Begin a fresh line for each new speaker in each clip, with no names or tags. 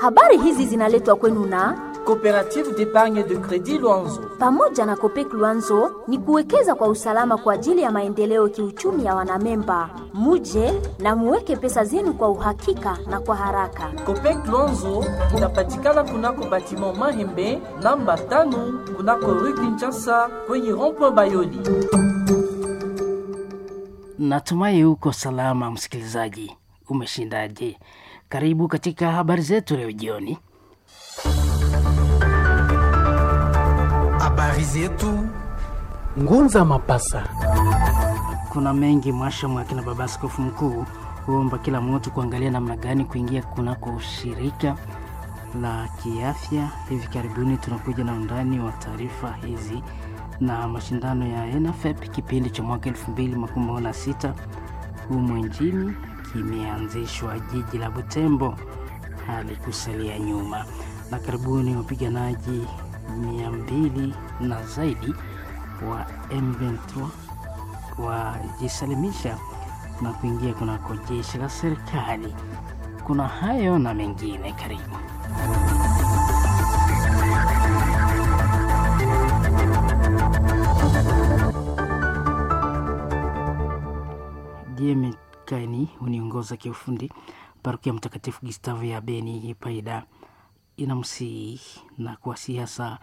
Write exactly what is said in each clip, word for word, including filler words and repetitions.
Habari hizi zinaletwa kwenu na
Coopérative d'épargne de crédit Luanzo.
Pamoja na Copec Luanzo ni kuwekeza kwa usalama kwa ajili ya maendeleo kiuchumi ya wanamemba. Muje na muweke pesa zenu kwa uhakika na kwa haraka.
Copec Luanzo inapatikana kunako batiment Mahembe namba tano kunako Rue Kinshasa kwenye rond-point Bayoli.
Natumai uko salama msikilizaji, umeshindaje? Karibu katika habari zetu leo jioni.
Habari zetu Ngunza Mapasa.
Kuna mengi mwasha mwakina baba askofu mkuu huomba kila mtu kuangalia namna gani kuingia kunako ushirika la kiafya. Hivi karibuni tunakuja na undani wa taarifa hizi na mashindano ya N F E P kipindi cha mwaka elfu mbili makumi na sita humu nchini kimeanzishwa jiji la Butembo halikusalia nyuma, na karibuni wapiganaji mia mbili na zaidi wa M ishirini na tatu wajisalimisha na kuingia kunako jeshi la serikali. Kuna hayo na mengine, karibu. D M Kaini uniongoza kiufundi. Parokia Mtakatifu Gustavo ya Beni Paida inamsihi na kuwasihi hasa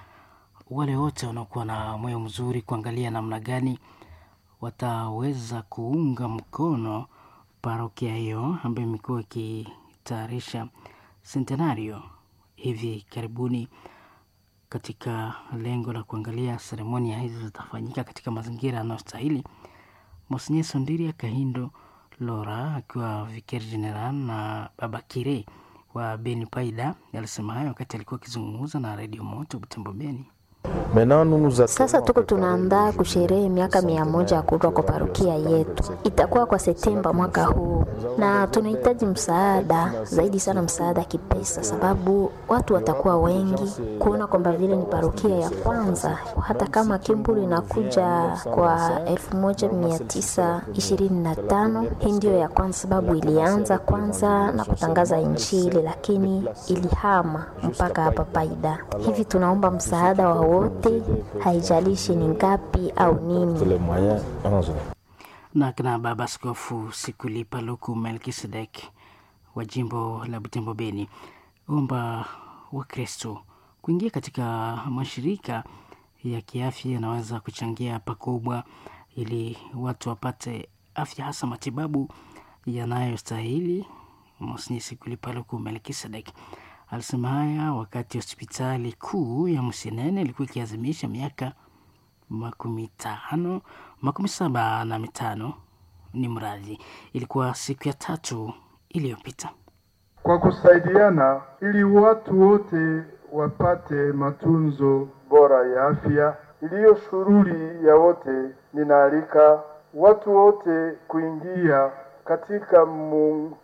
wale wote wanaokuwa na moyo mzuri kuangalia namna gani wataweza kuunga mkono parokia hiyo ambayo imekuwa ikitayarisha centenario hivi karibuni, katika lengo la kuangalia seremonia hizo zitafanyika katika mazingira yanayostahili. Monsenye Sondiria Kahindo Lora akiwa vicaire general na Baba Kire wa Beni Paida alisema hayo wakati alikuwa akizungumza na Radio Moto Butembo Beni.
Sasa tuko tunaandaa kusherehe miaka mia moja ya kuundwa kwa parokia yetu, itakuwa kwa Septemba mwaka huu, na tunahitaji msaada zaidi sana, msaada kipesa, sababu watu watakuwa wengi kuona kwamba vile ni parokia ya kwanza, hata kama Kimbulu inakuja kwa elfu moja mia tisa ishirini na tano hii ndiyo ya kwanza, sababu ilianza kwanza na kutangaza Injili, lakini ilihama mpaka hapa Paida. Hivi tunaomba msaada wa wote, haijalishi ni ngapi au nini.
Na kina Baba Askofu Sikulipa Luku Melkisedek wa jimbo la Butembo Beni omba Wakristo kuingia katika mashirika ya kiafya yanaweza kuchangia pakubwa ili watu wapate afya, hasa matibabu yanayostahili. Monsenye Sikulipa Luku Melkisedek alisema haya wakati hospitali kuu ya Msinene ilikuwa ikiazimisha miaka makumi tano makumi saba na mitano ni mradhi, ilikuwa siku ya tatu iliyopita.
Kwa kusaidiana ili watu wote wapate matunzo bora ya afya iliyo shughuli ya wote, ninaalika watu wote kuingia katika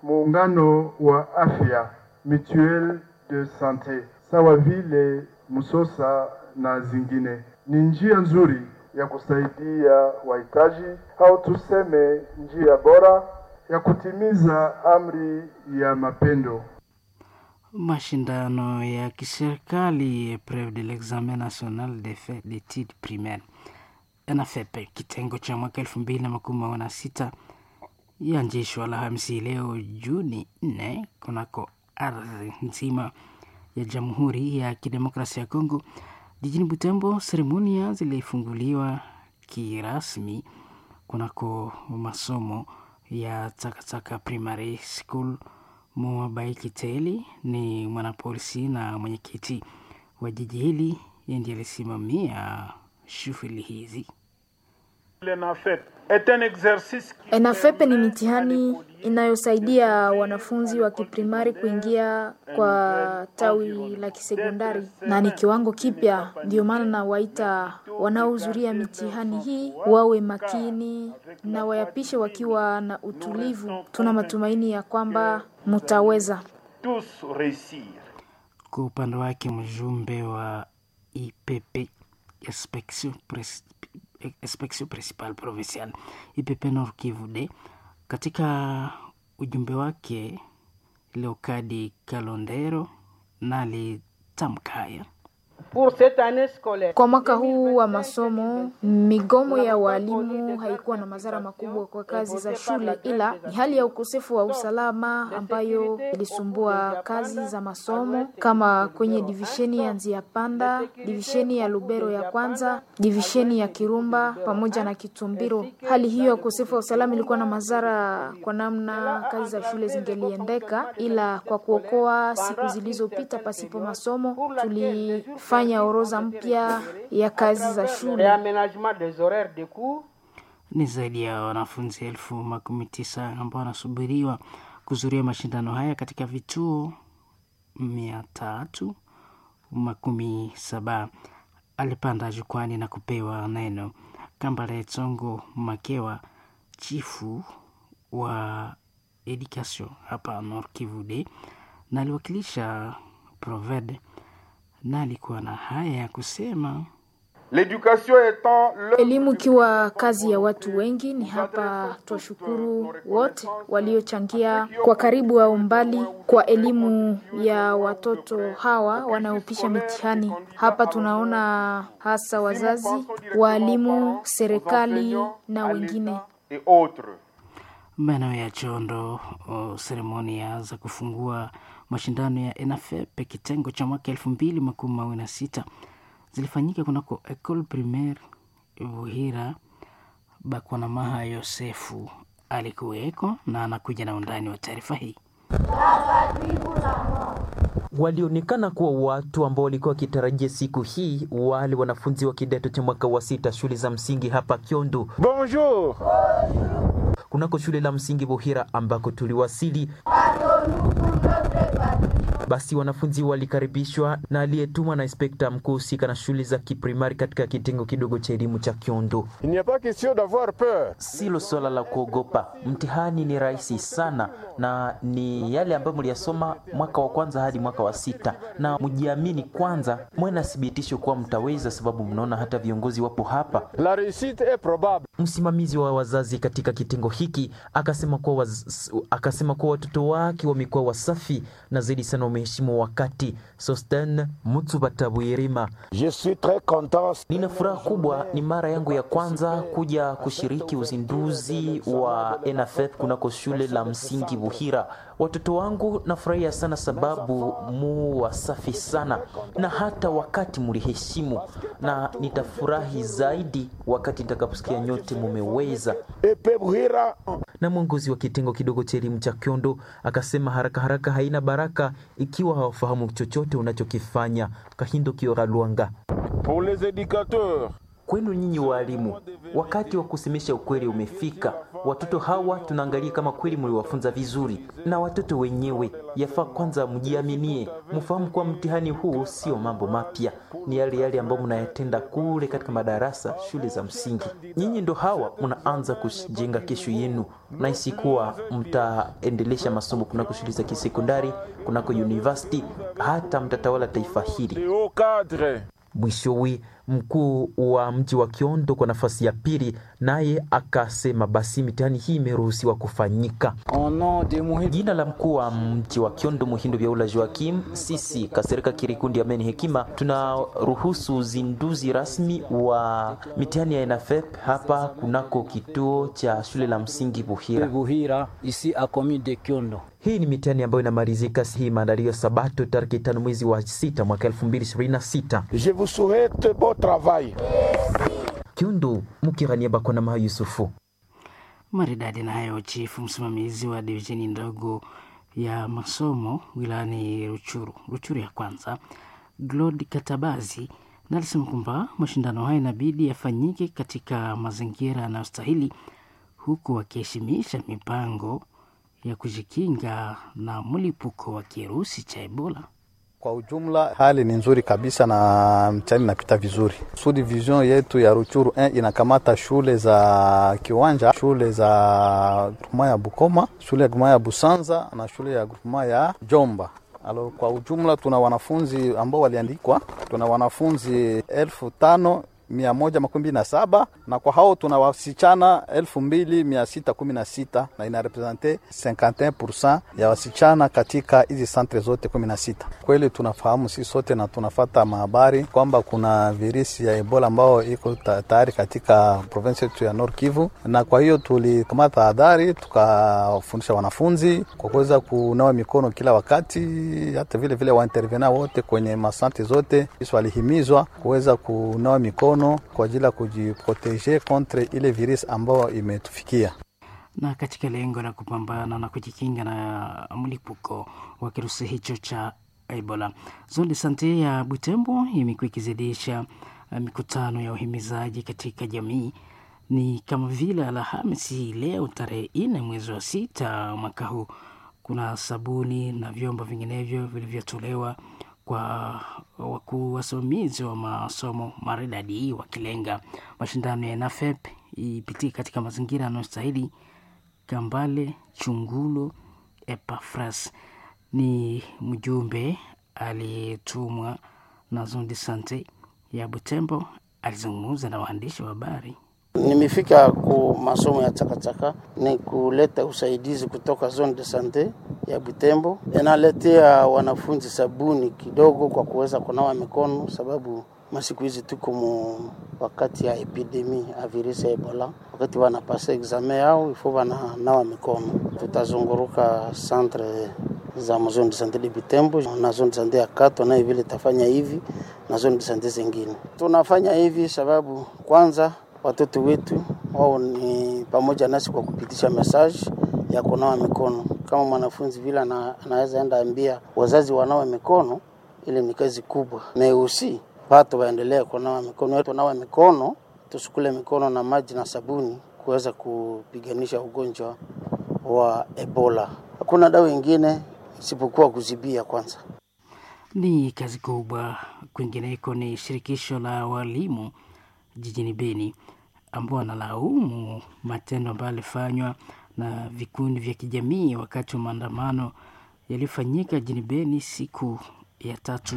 muungano wa afya Mutuelle de Sante sawa vile Msosa na zingine. Ni njia nzuri ya kusaidia wahitaji au tuseme njia bora ya kutimiza amri ya mapendo.
Mashindano ya kiserikali Epreuve de l'examen national des faits d'études primaires N F E P kitengo cha mwaka elfu mbili na makumi na sita yaanzishwa Alhamisi leo Juni nne kunako ardhi nzima ya Jamhuri ya Kidemokrasia ya Kongo jijini Butembo. Seremonia zilifunguliwa kirasmi kunako masomo ya Takataka Primary School. Mwabaiki Teli ni mwanapolisi na mwenyekiti wa jiji hili, yeye ndiye alisimamia shughuli hizi.
N F E P ni mitihani inayosaidia wanafunzi wa kiprimari kuingia kwa tawi la kisekondari na ni kiwango kipya. Ndio maana nawaita wanaohudhuria mitihani hii wawe makini na wayapishe wakiwa na utulivu. Tuna matumaini ya kwamba mutaweza.
Kwa upande wake mjumbe wa I P P Inspection Pres-, Inspection Principale Provinciale I P P Nord Kivu D, katika ujumbe wake Leokadi Kalondero na alitamka haya.
Kwa mwaka huu wa masomo, migomo ya walimu haikuwa na madhara makubwa kwa kazi za shule, ila ni hali ya ukosefu wa usalama ambayo ilisumbua kazi za masomo kama kwenye divisheni ya Nzia Panda, divisheni ya Lubero ya kwanza, divisheni ya Kirumba pamoja na Kitumbiro. Hali hiyo ya ukosefu wa usalama ilikuwa na madhara kwa namna kazi za shule zingeliendeka, ila kwa kuokoa siku zilizopita pasipo masomo, tulifanya orodha mpya ya kazi za shule.
Ni zaidi ya wanafunzi elfu makumi tisa ambao wanasubiriwa kuzuria mashindano haya katika vituo mia tatu makumi saba. Alipanda jukwani na kupewa neno Kambale Tsongo Makewa, chifu wa education hapa Nord Kivu D, na aliwakilisha Proved na alikuwa na haya ya kusema.
Elimu ikiwa kazi ya watu wengi, ni hapa twashukuru wote waliochangia kwa karibu au mbali kwa elimu ya watoto hawa wanaopisha mitihani. Hapa tunaona hasa wazazi, waalimu, serikali na wengine.
Maeneo ya Chondo, seremonia za kufungua mashindano ya ENAFEP kitengo cha mwaka elfu mbili makumi mawili na sita zilifanyika kunako Ecole Primaire Buhira. Bakwanamaha Yosefu alikuweko na anakuja na undani wa taarifa hii.
Walionekana kuwa watu ambao walikuwa wakitarajia siku hii, wale wanafunzi wa kidato cha mwaka wa sita shule za msingi hapa Kyondo.
Bonjour.
Kunako shule la msingi Buhira ambako tuliwasili basi wanafunzi walikaribishwa na aliyetumwa na inspekta mkuu husika na shule za kiprimari katika kitengo kidogo cha elimu cha Kyondo.
Il n'y a pas question d'avoir peur.
Silo swala la kuogopa, mtihani ni rahisi sana na ni yale ambayo mliyasoma mwaka wa kwanza hadi mwaka wa sita, na mjiamini kwanza, mwe na thibitisho kuwa mtaweza, sababu mnaona hata viongozi wapo hapa.
La réussite est probable.
Msimamizi wa wazazi katika kitengo hiki akasema kuwa waz... akasema kuwa watoto wake wamekuwa wasafi na zaidi sana wameheshimu wakati. Sosten Mutsubatabwirima:
Je suis très content.
Nina furaha kubwa, ni mara yangu ya kwanza kuja kushiriki uzinduzi wa ENAFEP kunako shule la msingi Buhira. Watoto wangu nafurahia sana sababu mu wasafi sana na hata wakati muliheshimu, na nitafurahi zaidi wakati nitakaposikia nyote mumeweza. Na mwongozi wa kitengo kidogo cha elimu cha Kyondo akasema haraka haraka haina baraka ikiwa hawafahamu chochote unachokifanya. Kahindo Kiora Luanga:
Pour les éducateurs,
Kwenu nyinyi waalimu, wakati wa kusemesha ukweli umefika. Watoto hawa tunaangalia kama kweli mliwafunza vizuri, na watoto wenyewe yafaa kwanza mjiaminie, mfahamu kuwa mtihani huu sio mambo mapya, ni yale yale ambayo mnayatenda kule katika madarasa, shule za msingi. Nyinyi ndo hawa mnaanza kujenga kesho yenu, nahisi kuwa mtaendelesha masomo kunako shule za kisekondari, kunako university, hata mtatawala taifa hili. Mwishowe, mkuu wa mji wa Kiondo kwa nafasi ya pili, naye akasema basi mitihani hii imeruhusiwa kufanyika. Jina la mkuu wa mji wa Kiondo Muhindo Byaula Joakim, sisi Kasereka Kirikundi Ameni Hekima tunaruhusu uzinduzi rasmi wa mitihani ya ENAFEP hapa kunako kituo cha shule la msingi Buhira.
Buhira, ici à commune de Kiondo.
Hii ni mitihani ambayo inamalizika hii maandalio ya Sabato tarehe tano mwezi wa sita mwaka elfu mbili ishirini na sita.
Je vous souhaite bon travail.
Kiundu Mukirania Bakona Yusufu.
Maridadi na hayo, chifu msimamizi wa divisheni ndogo ya masomo wilayani Ruchuru, Ruchuru ya kwanza, Glod Katabazi, na alisema kwamba mashindano hayo inabidi yafanyike katika mazingira yanayostahili huku wakiheshimisha mipango ya kujikinga na mlipuko wa kirusi cha Ebola.
Kwa ujumla hali ni nzuri kabisa na mtihani inapita vizuri. Sud division yetu ya Ruchuru eh, inakamata shule za Kiwanja, shule za groupement ya Bukoma, shule ya groupement ya Busanza na shule ya groupement ya Jomba. Alo, kwa ujumla tuna wanafunzi ambao waliandikwa, tuna wanafunzi elfu tano mia moja makumi na saba na kwa hao tuna wasichana elfu mbili mia sita kumi na sita na inarepresente cinquante et un pour cent ya wasichana katika hizi centre zote kumi na sita. Kweli tunafahamu sisi sote na tunafata mahabari kwamba kuna virusi ya Ebola ambao iko tayari katika province yetu ya Nord Kivu, na kwa hiyo tulikamata tahadhari, tukafundisha wanafunzi kwa kuweza kunawa mikono kila wakati, hata vile vile waintervena wote kwenye masante zote walihimizwa kuweza kunawa mikono kwa ajili ya kujiproteje contre ile virus ambayo imetufikia.
Na katika lengo la kupambana na kujikinga na mlipuko wa kirusi hicho cha Ebola, Zone de Sante ya Butembo imekuwa ikizidisha mikutano ya uhimizaji katika jamii. Ni kama vile Alhamisi leo tarehe nne mwezi wa sita mwaka huu, kuna sabuni na vyombo vinginevyo vilivyotolewa kwa wakuu wasimamizi wa masomo maridadi, wakilenga mashindano ya NAFEP ipitie katika mazingira yanayostahili. Kambale Chungulo Epafras ni mjumbe aliyetumwa na Zone de Sante ya Butembo, alizungumza na waandishi wa habari.
Nimefika ku masomo ya Chakachaka ni kuleta usaidizi kutoka Zone de Sante ya Butembo, inaletea wanafunzi sabuni kidogo kwa kuweza kunawa mikono, sababu masiku hizi tuko mu wakati ya epidemi ya virusi ya Ebola. Wakati wanapasa examen yao ifo wananawa mikono. Tutazunguruka centre za zone de sante de Butembo na zone de sante ya Kato, nayo vile tafanya hivi na zone de sante zingine. Tunafanya hivi sababu kwanza watoto wetu wao ni pamoja nasi kwa kupitisha message ya kunawa mikono. Kama mwanafunzi vile ana, anaweza enda ambia wazazi wanawe mikono, ile ni kazi kubwa. Meusi watu waendelee kunawa mikono, tunawe mikono, tusukule mikono na maji na sabuni kuweza kupiganisha ugonjwa wa Ebola. Hakuna dawa ingine isipokuwa kuzibia kwanza.
Ni kazi kubwa. Kwingineko ni shirikisho la walimu jijini Beni ambao wanalaumu matendo ambayo yalifanywa na vikundi vya kijamii wakati wa maandamano yaliyofanyika jijini Beni siku ya tatu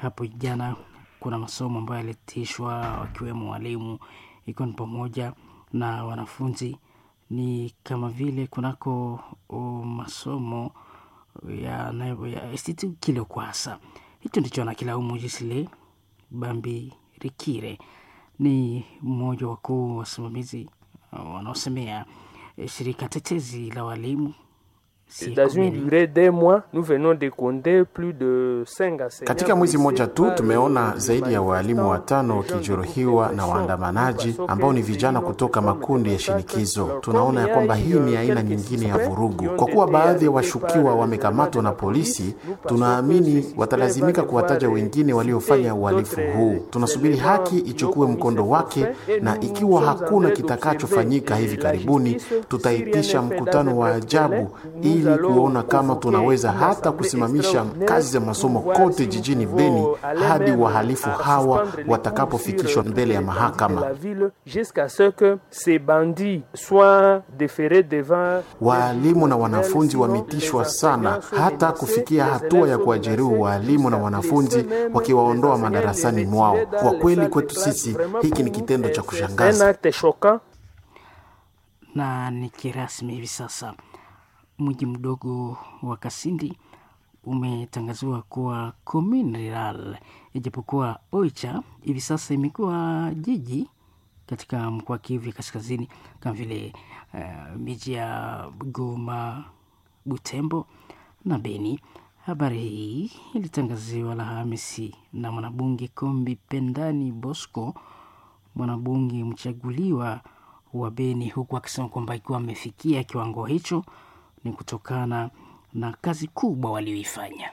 hapo jana. Kuna masomo ambayo yalitishwa wakiwemo walimu, ikiwa ni pamoja na wanafunzi. Ni kama vile kunako masomo ya, ya Institut Kilokwasa. Hicho ndicho anakilaumu Jisile Bambi Rikire, ni mmoja wakuu wasimamizi wanaosemea shirika tetezi la walimu.
Dans une durée d'un mois, nous venons de compter plus de cinq enseignants.
Katika mwezi mmoja tu tumeona zaidi ya waalimu watano wakijeruhiwa na waandamanaji ambao ni vijana kutoka makundi ya shinikizo. Tunaona ya kwamba hii ni aina nyingine ya vurugu. Kwa kuwa baadhi ya washukiwa wamekamatwa na polisi, tunaamini watalazimika kuwataja wengine waliofanya uhalifu huu. Tunasubiri haki ichukue mkondo wake, na ikiwa hakuna kitakachofanyika hivi karibuni, tutaitisha mkutano wa ajabu ili kuona kama tunaweza hata kusimamisha kazi za masomo kote jijini Beni hadi wahalifu hawa watakapofikishwa mbele ya mahakama. Waalimu na wanafunzi wametishwa sana hata kufikia hatua ya kuwajeruhi waalimu na wanafunzi wakiwaondoa madarasani mwao. Kwa kweli kwetu sisi hiki ni kitendo cha kushangaza
na ni kirasmi hivi sasa. Mji mdogo wa Kasindi umetangaziwa kuwa commune rural, ijapokuwa Oicha hivi sasa imekuwa jiji katika mkoa wa Kivu ya Kaskazini, kama vile uh, miji ya Goma, Butembo na Beni. Habari hii ilitangaziwa Alhamisi na mwanabunge Kombi Pendani Bosco, mwanabunge mchaguliwa wa Beni, huku akisema kwamba ikiwa amefikia kiwango hicho ni kutokana na kazi kubwa walioifanya.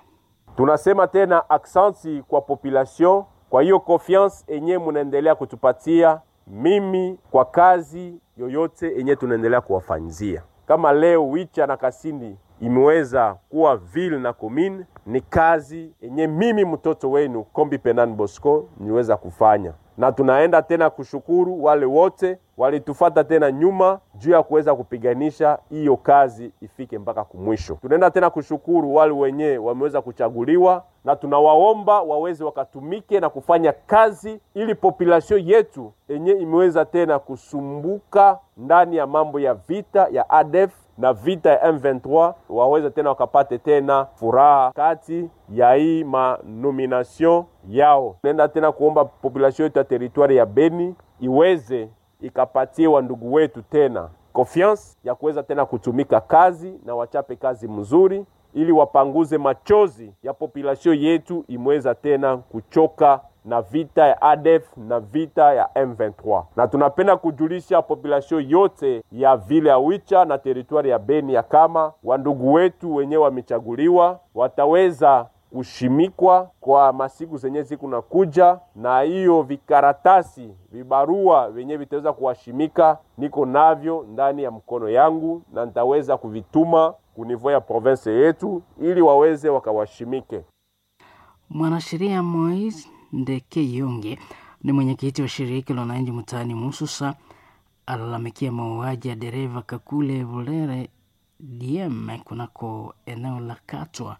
Tunasema tena aksanti kwa population kwa hiyo confiance enye munaendelea kutupatia mimi kwa kazi yoyote enye tunaendelea kuwafanyizia. Kama leo Wicha na Kasindi imeweza kuwa ville na commune, ni kazi enye mimi mtoto wenu Kombi Penan Bosco niweza kufanya, na tunaenda tena kushukuru wale wote walitufata tena nyuma juu ya kuweza kupiganisha hiyo kazi ifike mpaka kumwisho. Tunaenda tena kushukuru wale wenye wameweza kuchaguliwa na tunawaomba waweze wakatumike na kufanya kazi ili population yetu enye imeweza tena kusumbuka ndani ya mambo ya vita ya A D F na vita ya M vingt-trois waweze tena wakapate tena furaha kati ya hii manomination yao. Nenda tena kuomba population yetu ya territoire ya Beni iweze ikapatie wa ndugu wetu tena confiance ya kuweza tena kutumika kazi na wachape kazi mzuri ili wapanguze machozi ya population yetu imeweza tena kuchoka na vita ya A D F na vita ya M vingt-trois. Na tunapenda kujulisha population yote ya vile ya Wicha na territoire ya Beni ya kama wandugu wetu wenyewe wamechaguliwa wataweza kushimikwa kwa masiku zenye siku nakuja, na hiyo vikaratasi vibarua venye vitaweza kuwashimika niko navyo ndani ya mkono yangu, na nitaweza kuvituma kunivo ya province yetu ili waweze wakawashimike.
Mwanasheria Moise Ndeke Yonge ni mwenyekiti wa shirika la wananchi mtaani Mususa alalamikia mauaji ya dereva Kakule Vulere D M kunako eneo la Katwa.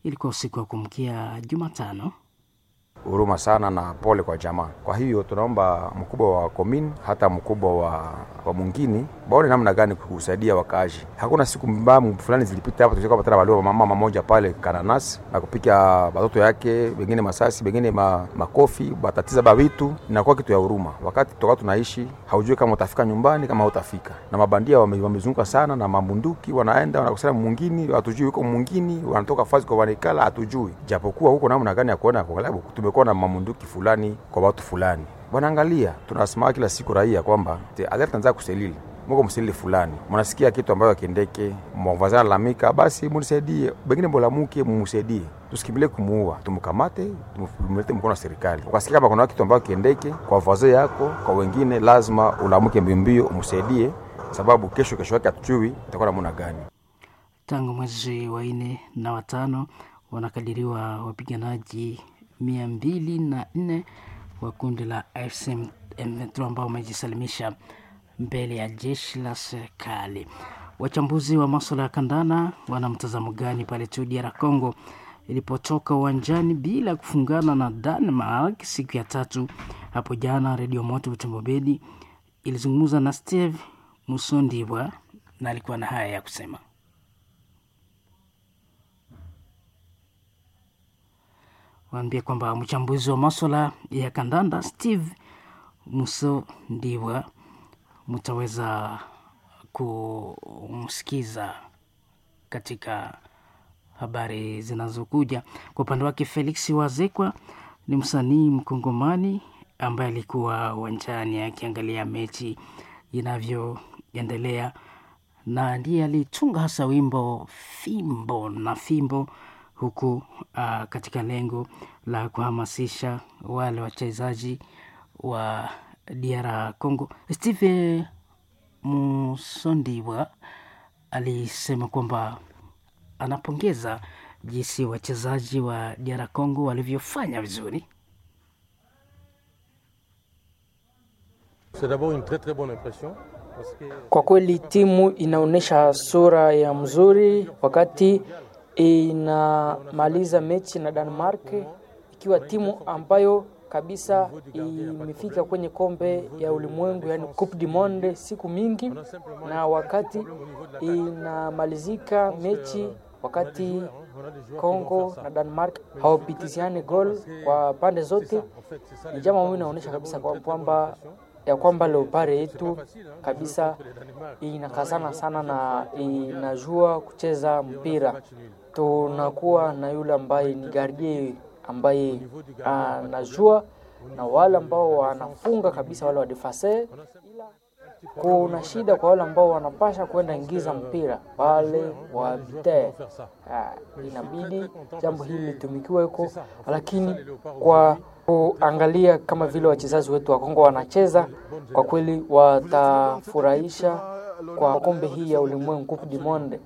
Ilikuwa usiku wa kumkia Jumatano.
Huruma sana na pole kwa jamaa. Kwa hiyo tunaomba mkubwa wa komini hata mkubwa wa, wa mwingine baone namna gani kusaidia wakaaji. Hakuna siku mbaya fulani zilipita hapa tulikuwa patana walio mama mmoja pale Kananasi na kupika watoto yake, wengine masasi, wengine ma, makofi, batatiza bawitu. Inakuwa kitu ya huruma. Wakati toka tunaishi haujui kama utafika nyumbani kama hutafika. Na mabandia wame, wamezunguka sana na mabunduki, wanaenda wanakusanya mwingine, hatujui yuko mwingine, wanatoka fazi kwa wanekala hatujui. Japokuwa huko namna gani ya kuona kwa sababu tumekuwa na mamunduki fulani kwa watu fulani. Wanaangalia, tunasema kila siku raia kwamba alert anza kuselili. Mko mselili fulani. Mnasikia kitu ambayo kiendeke, mwavazana lalamika, basi munisaidie. Bengine bolamuke mumsaidie. Tusikimbilie kumuua, tumkamate, tumlete mkono wa serikali. Ukasikia kama kuna kitu ambayo kiendeke kwa vazo yako, kwa wengine lazima ulamuke mbio umsaidie, sababu kesho kesho yake hatujui itakuwa namna gani.
Tangu mwezi wa nne na watano wanakadiriwa wapiganaji mia mbili na nne wa kundi la F C M vingt-trois ambao wamejisalimisha mbele ya jeshi la serikali. Wachambuzi wa masuala ya kandanda wana mtazamo gani pale tu D R Congo ilipotoka uwanjani bila kufungana na Denmark siku ya tatu hapo jana? Radio Moto Butembo Beni ilizungumza na Steve Musondiwa na alikuwa na haya ya kusema. Waambie kwamba mchambuzi wa masuala ya kandanda Steve Musondiwa mtaweza kumsikiza katika habari zinazokuja. Kwa upande wake Felix Wazekwa ni msanii mkongomani ambaye alikuwa uwanjani akiangalia mechi inavyoendelea na ndiye alitunga hasa wimbo Fimbo na Fimbo, huku uh, katika lengo la kuhamasisha wale wachezaji wa D R Congo. Steve Musondiwa alisema kwamba anapongeza jinsi wachezaji wa D R Congo walivyofanya vizuri.
C'est d'abord une très très bonne impression.
Kwa kweli timu inaonyesha sura ya mzuri wakati inamaliza mechi na Denmark, ikiwa timu ambayo kabisa imefika kwenye kombe ya ulimwengu, yani Coupe du Monde siku mingi, na wakati inamalizika mechi wakati Kongo na Denmark hawapitiziane goal kwa pande zote, ni jambo ambalo inaonyesha kabisa kwamba ya kwamba Leopard yetu kabisa inakazana sana na inajua kucheza mpira. Tunakuwa na yule ambaye ni gardie ambaye anajua na wale ambao wanafunga kabisa wale wa defense. Kuna shida kwa wale ambao wanapasha kwenda ingiza mpira wale wa bite. Inabidi jambo hili litumikiwe huko, lakini kwa kuangalia kama vile wachezaji wetu wa Kongo wanacheza, kwa kweli watafurahisha kwa kombe hii ya ulimwengu Coupe du Monde.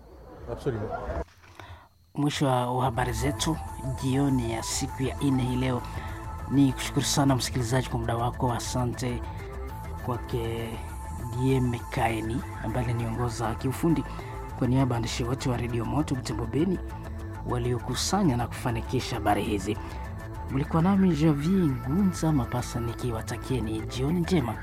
Mwisho wa habari zetu jioni ya siku ya nne hii leo. Ni kushukuru sana msikilizaji kwa muda wako. Asante kwake D M Kaini ambaye aliniongoza kiufundi. Kwa niaba ya waandishi wote wa Radio Moto Butembo Beni, waliokusanya na kufanikisha habari hizi. Mlikuwa nami Javier Ngunza Mapasa nikiwatakieni jioni njema.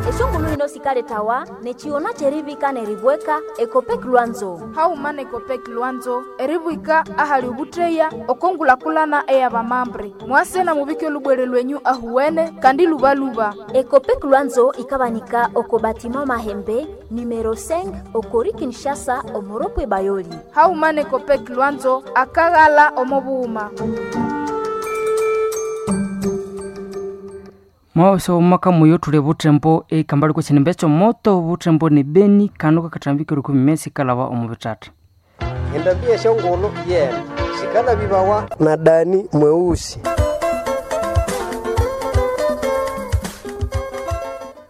Eshongulu hino sikaletawa nechiona cherivika neribweka Ekopek Lwanzo
hauma na Ekopek Lwanzo eribwika ahali ubutreya okongulakulana eyabamambre mwase na mubike olubwere lwenyu ahuwene kandi lubaluba.
Ekopek Lwanzo ikabanika oko batima Mahembe numero cinq okori Kinshasa omoropwe Bayoli.
Hauma na Ekopek Lwanzo akaghala omobuhuma.
Mwaso omwaka muyo tuli butembo ekambali kwesinimbe moto butembo ni Beni kanu kakatambike rukumi mesi kalaba omu bitata.
Endabia shongolo yena sikala bibawa na Dani mweusi.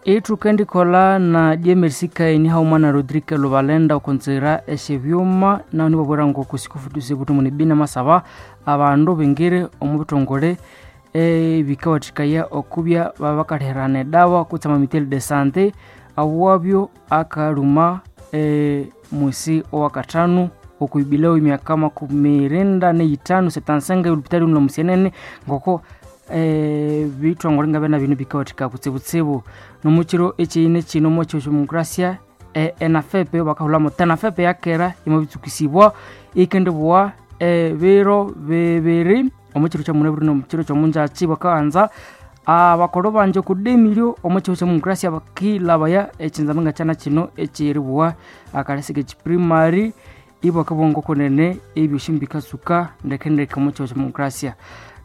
Itu kendikola na J M R C kaini haumana Rodrigue Lubalenda okonzera esyebyuma naho nibabwera ngo kusikufuduze butumu ni Beni masaba abandu bingire omu bitongole ebikawathikaya okubya babakalherana edawa kutse amamithali de sante awabyo akaluma e, mwisi owakathanu okuibileo emyaka makumi irinda neyithanu setansenga olupitali luno musienene ngoko e, bithongole ngabya bino bikawathika kutsibutsibu. Nomukiro ekyiyine kino mwekyo demokrasia e, enafepe bakahulamo tenafepe yakera imabitsukisibwa ikendibwa e, biro bibiri omukiro kyamunabwire nomukiro kyomunjakyi bakaghanza abakolo banje okudemiryo omukiro kyamumukrasia bakilabaya ekinzama nga kyana kino ekyeribwa akalesi kekiprimary ibwakabongo kunene ebyosi bikasuka ndekendeke omukiro kyamumukrasia.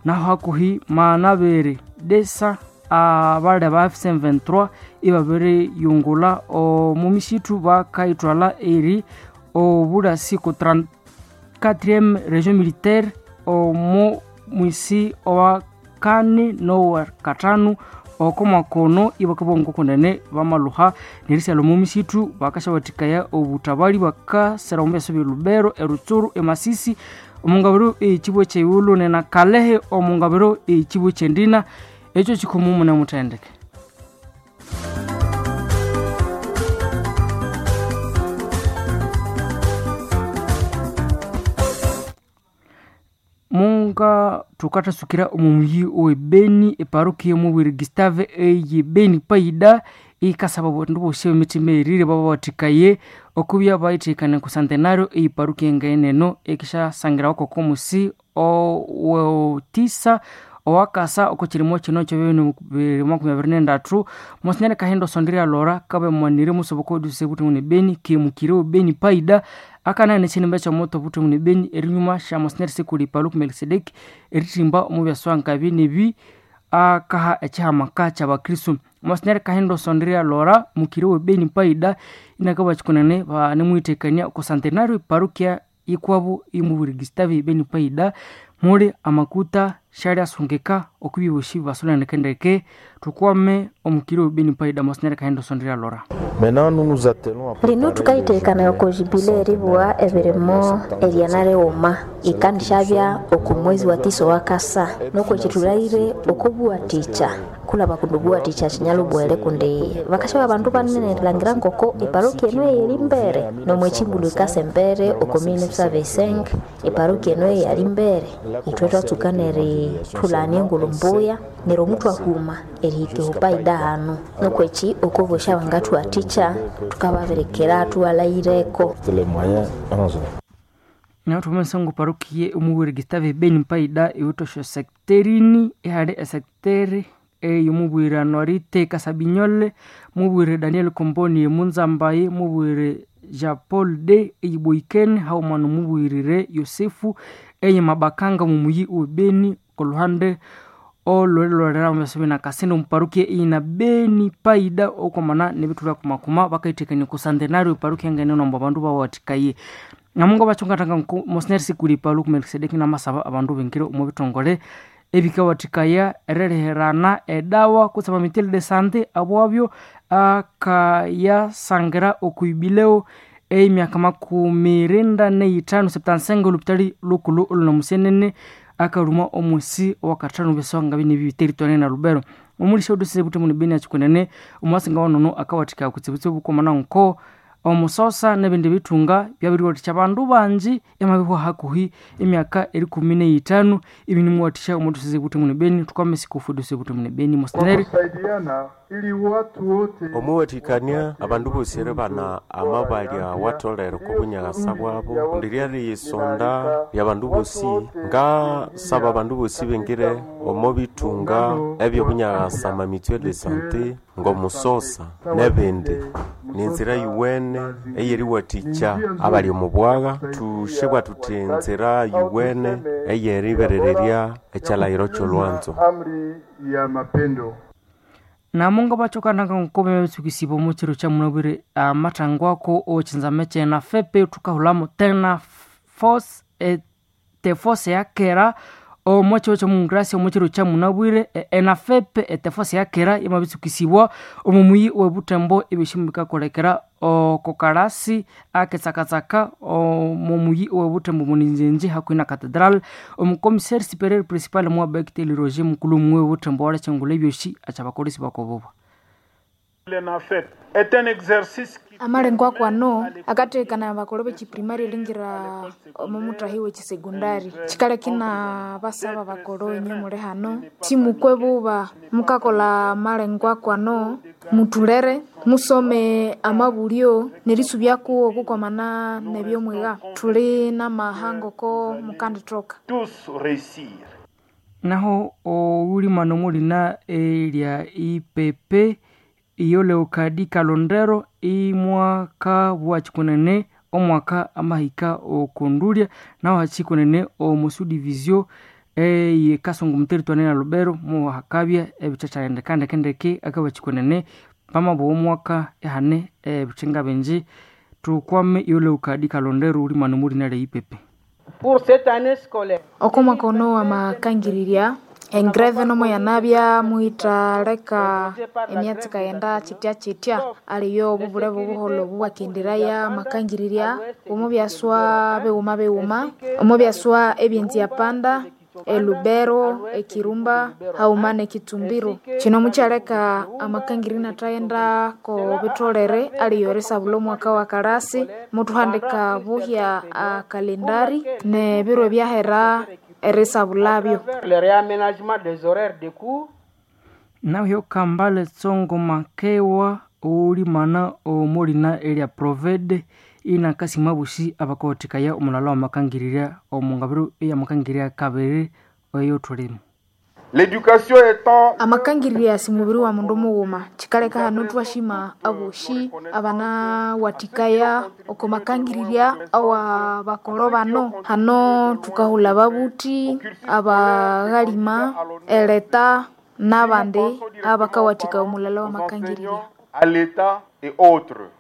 Naho hakuhi manabere desa abali aba F C vingt-trois ibabiriyungula omu misitu bakaithwala eri obulasi ku trente-quatrième région militaire omu mwisi owa kane nowa katanu oko mwakono ibakabongo kunene bamaluha nerisyala omu misitu bakasyawathikaya obutabali bakasera omu byasa bya Lubero, eRutsuru, eMasisi omungabiro ekibwa kyeighulhu nena Kalehe omungabiro ekibwa kyendina ekyo kikomo mune muthendeke. Munga thukathasukira omu muyi owe Beni eparokia yomubwiri Gustave eye Beni Paida ikasaba abandu bosi emitima erire babawathikaye okubya bayithekania ku centenario eyi parokia engaeneno ekisyasangira koko omusi owetisa owakasa oko kirimo kino kyebibiri makumi abiri nendathu. Monsinyeri Kahindo Sondria Lora kabe mwanire musoboka oduse buthi mune Beni kemukire Beni Paida akanane kinimba kyomoto buthi mune Beni erinyuma sya Monsinyeri Sikuli Paluku Melkisedeki erithimba omu byaswa nkabi nebi akaha ekihamaka kyabakristu. Monsinyeri Kahindo Sondria Lora mukire we Beni Paida inakaba kikunene banemwithekania oko centenario parokia ikwabu imubwiri Gustave Beni Paida muli amakuta syali asungika okubyosi basolanekendeke tukwame omukiri we Beni Paida Monsinyeri Kahindo Sondria Lora.
Lino thukayithekanaya oko jubile eribugha ebirimo eryana righuma ikandisyabya oku mwezi wa tisa owakasa nuko ekithulhaire okobuwathikya kulaba kundi obuwathikya kinyalubwere kundi bakasyaba abandu banene erilhangira ngoko eparokia eno eyeri mbere nomwekimbulu ikasa embere oko mille neuf cent vingt-cinq eparokia eno eyali mbere. Ithwe thwatsuka nerithulania engulhu mbuya neryo omuthu ahuma erihika ehupaida hanu nuko eki okobosya bangathuwathikya thukababirikira thubalhaireko.
Naho thwamasa ngu parokia omuwiri Gustave Beni Paida iwithe sekterini ihali esekiteri eyomubwire Anuarite Kasabinyole mubwire Daniel Komboni emunzambaye mubwire Jean Paul D eyiboikene hauma nomubwirire Yosefu eye Mabakanga mumuyi owe Beni koluhande olwelolera omubyasa na Kasindi omuparukia eyina Beni Paida okwamana nebithulha kumakuma bakayithekania ku centenario eparukia ngenene ombu abandu bawathikaye. Namunga bachungatanga Monsinyeri Sikuli Paluku Melkisedeki namasaba abandu bingire omu bithongole ebikawathikaya eriherana edawa kutse amamithali de sante abwabyo akayasangira okuibileo emyaka makumi irinda neyithanu septansenga olupitali lukulhu olunamusenene akaruma omusi owakathanu byaswanga bine biteritoria na Lubero omulisha odusise buthi muni Beni achikunene omwasinga wanono akawathikaya kutsibutsibu bukomana nko
Omusosa n'ebindi bitunga byabiriwathikya abandu bangi emabihwa hakuhi emyaka erikumi n'eyithanu. Ibi nimuwathikya omuthuseze Butembo ne Beni. Tukwame sikufu Butembo ne Beni moseneri
Omuwathikania abandu bosi bana amabalya watolere kobunyakasa bwabo ndiryari yisonda lyabandu bosi ngasaba abandu bosi bengire omo bitunga ebyobunyakasa mamituelle de sante ngomusosa nebindi ninzira yuwene eyeriwathikya abali omu bwagha tushebwa tuthi nzira yuwene eyeriberererya ekyalahiro kyolwanzo.
Namunga bachokananga nkome betsukisiba omu kiro kya munabwire amathangwako owekhinzame kyena fepe thukahulamo tena force etefose yakera omu kiro kyomungrasi omu kiro kya munabwire enafepe etefose yakera yamabitsukisibwa omu muyi webutembo ebyoshimu bikakolekera okokalasi aketsakatsaka omu muyi webutembo muninjenje hakuhi na catedral. Omukomiseri superior principal mwabekiteli Roger mukulu muwe webutembo walachangula ebyoshi achabakolesi bakoboba.
Amalengo akwano akathekana bakolo b'ekiprimari elingira omu muthahi w'ekisegondari kikale kina basaba bakolo inye muli hano simukwe buba mukakola amalengo akwano mutulere musome amabulyo nerisubyaku okukwamana nebyomwiga thuli n'amahanga oko mukandithoka.
Naho owulimano mulina elya ipepe iyo Leokadi Kalondero imwaka bwachikunene omwaka amahika okundulya naho hachikunene omusudivizio eye Kasongo muteritwani na Lubero muhakabya ebichachalendeka ndekendeke akabachikunene pamabo omwaka ehane ebichenga binji. Tukwame iyo Leokadi Kalondero ulimano mulina lya ipepe.
Okomwaka ono amakangirirya engreve nomo yanabya muhithaleka emyatsi kayenda chitya chitya aliyo obubule bubuholho obubwakenderaya amakangirirya omu byaswa bighuma bighuma omu byaswa ebyenzi panda elubero ekirumba hauma nekitumbiro. Kino mukyaleka amakangiri inathayenda ko bitholere aliyo erisabula omwaka wa kalasi muthuhandika buhya akalendari nebiro ebyahera erisabulabyo.
Naho Kambale Tsongo Makewa ulimana omulina elya Provede inakasima bushi abakothekaya omulala wamakangirira omungabiro eyamakangirira kabiri eyo thulimu.
L'éducation étant
amakangirira simubiri wa mundu mughuma kikaleka hano thwashima aboshi abana wathikaya oko makangirirya awa bakolo bano hano thukahulha ababuthi abaghalima eleta n'abandi abakawathika omulala wa makangirirya
à l'État et autres.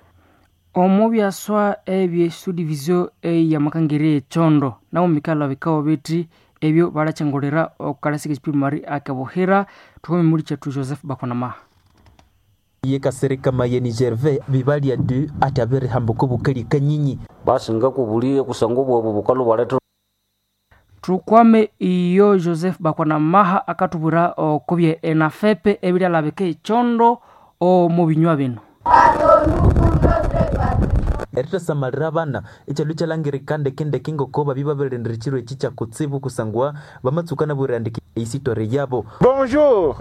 Omu byaswa ebyesudivizio eyamakangirira echondo nabo mikalha bikawa bithi ebyo balachangulira okukalasika ekiprimari akebuhira. Thuhome muli kyethu Joseph Bakonamaha.
Ye kasereka mayeni Gervais bibalya du atabere hambuko bukali kanyinyi
basi ngakubulie kusanga obwabu bukalo bwaletha.
Tukwame iyo Joseph Bakwanamaha akatubwira okubye enafepe ebiryalabika echondo omu binywa bino.
Eritasamalira abana ekyalo kyalangirika ndekendeke ngoko babi babirindira ekiro eki kyakutsibu kusangwa bamatsuka nabwirandika eisitore yabo.
Bonjour.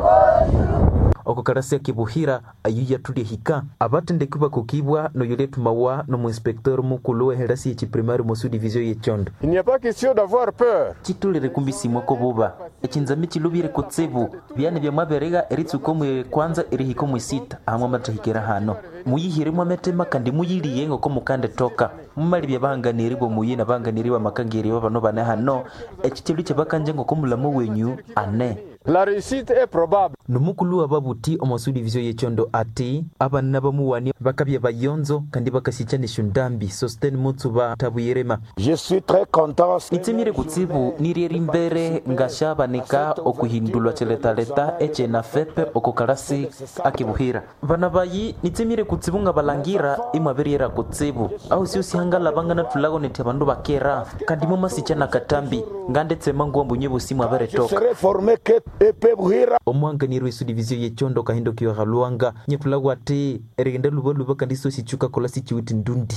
Oko karasi akibuhira ayu yatulya hika abatendeki bakukibwa noyo lyathumawa nomuinspector mukulu weherasi yekiprimari mosu divisio yechondo.
Il n'y a pas question d'avoir peur.
Chitulire kumbisimwa kobuba echinzami chilubire kutsibu byane byamwaberega eritsuka omwe kwanza erihika omwe sita ahamwe amathahikira hano muyihiremu ametema kandi muyiliye ngoko mukande toka mumali byabahanganiri bomuyi nabahanganiri bamakangiri bano bane hano echichelu kyabakanje ngoko mulamu wenyu ane.
La réussite est probable.
Nomukulu wababuti omu divisio yechondo ati abana bamuwani bakabya bayonzo kandi bakasicha neshundambi Sosten Mutsuba tabuyirema.
Je suis très content.
Nitsimire kutsibu nirieri mbere ngashabanika okuhindulwa chiletaleta echena fepe okukalasi akibuhira. Bana bayi nitsimire kutsibu nga balangira imwabiriera kutsibu au sio sihangala bangana tulago neti abandu bakera kandi mumasicha nakatambi ngandetse mangu ambunye busimu aberetoka.
Je serai formé que E P Buhira.
Omwanganiri Omwanganiri w'esudivizio y'echondo Kahindo Kiwaha Lwanga nyetulagwa ati erigenda lubaluba kandi sosichuka kola sichiwiti ndundi.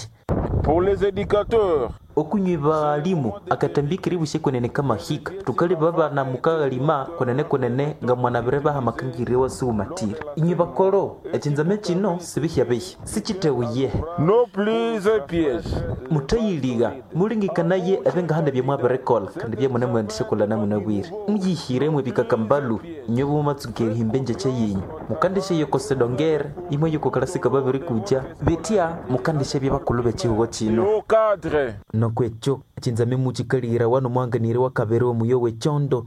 Pour les éducateurs,
okunywi baalimu akatambikiri bushe kwenene kamahika tukali baba na mukagalima kwenene kwenene nga mwana baha makangire wasuumatira inywi bakolo echinzame chino sibihya-bihya sichitewuye
no plus piège
mutayiliga mulingikanaye ebengahanda byemwabirikola kandi byemunemwendishakola namunabwire muyihiremwe bikakambalu inywe bumatsuka erihimba enjeche yenyu mukandisha yokosedongere imwe yokokalasika babirikuja betya mukandisha byabakulu bechihugo chino
au cadre
nokwekyo chinzame muchikalira wano mwanganiri wa kabere omuyo wechondo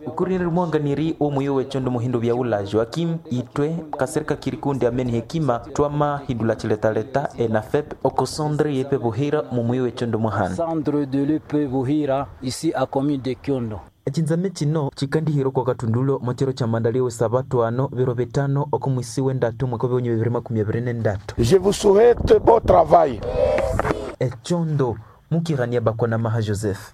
ukurinira mwanganiri omuyo wechondo muhindo bya ula Joaquim itwe kasereka kirikundi ameni hekima twama hindula chiletaleta enafep okosondre yepe buhira mumuyo wechondo muhana
Centre de l'E P Buhira, ici à commune de Kyondo.
Echinzame chino chikandihiro kwa katundulo mochero cha mandalio sabatu ano biro bitano okumwisi wendatu mwaka wa bibiri makumi abiri nendatu.
Je vous souhaite bon travail.
Echondo mukirania bakona maha Joseph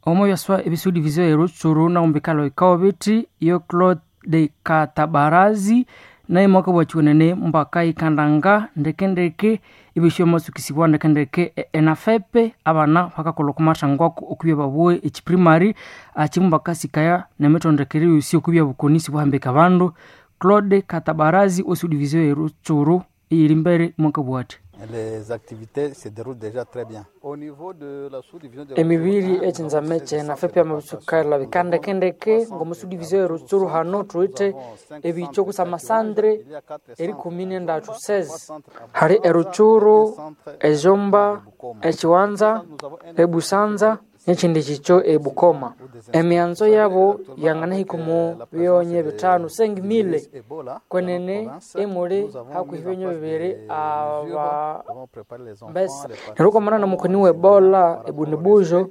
omo byaswa ebisudivizio erutsuru naumbikalo ikawa biti yo Claude Katabarazi naye mwaka bwachiwenene mbaka ikandanga ndekendeke ibisho masukisibwa ndekendeke e- enafepe abana bakakola okumathangwako okubya babue echiprimary achimu bakasikaya nemitondekere yosi okubya bukonisi buhambika abandu. Claude Katabarazi osudivizio erutsuru iyiri mbere mwaka bwati.
Les activités se déroulent déjà très bien. Au niveau de la sous-division de
Emibiri echinzame kyenafe pyamabisukali bikandekendeke ngomusudivizio erutsuru hano thuwithe ebicho kusama sandre erikumi nendathu sezi hali erutsuru, ejomba, echiwanza, ebusanza nechindi chicho ebukoma. Emianzo yabo yanganahika omu byonye bitano sengimile kwenene emuli hakuhi byonye bibiri aba mbesa. Neryo kwamana nomukoni we Ebola ebunibujo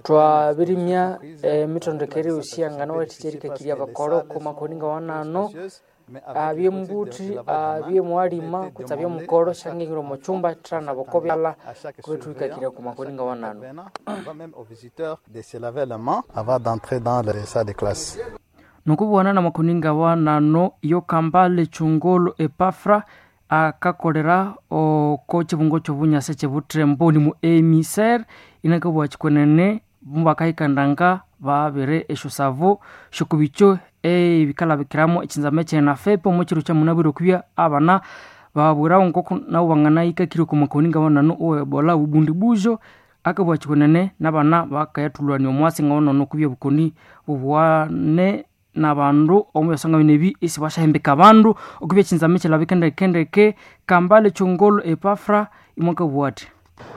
twabirimya emitondekere yosi yanganawathicha erikakirya abakoro kumakoni ngawanano abye mbuthi abye mwalima kutse abye mukoro shangingira omu chumba thana boko byala kubethuikakirya kumakoni ngawanano.
On va même aux visiteurs de se laver les mains avant d'entrer dans les salles de classe.
Nokubwana na makuninga wanano yo Kambale Chungolo Epafra akakolera oko chibungo chobunyasa chebutrembo ni mu emiser inakabwa chikwenene mbakaikandanga babere esho savo shokubicho ebikalabikiramo echinzame kyenafepe omu chiro kya munabwire okubya abana babwirawo nkoko nabo banganahikakire oku makuninga wanano owe Ebola bubundi bujo akabwa chikwenene nabana bakayathulwania omwasi ngawanono okubya bukoni bubwane nabandu omu byasonga binebi isi bashahembeka abandu okubya echinzame kyilabika ndekendeke. Kambale Chongolo Epafra imwakabwati.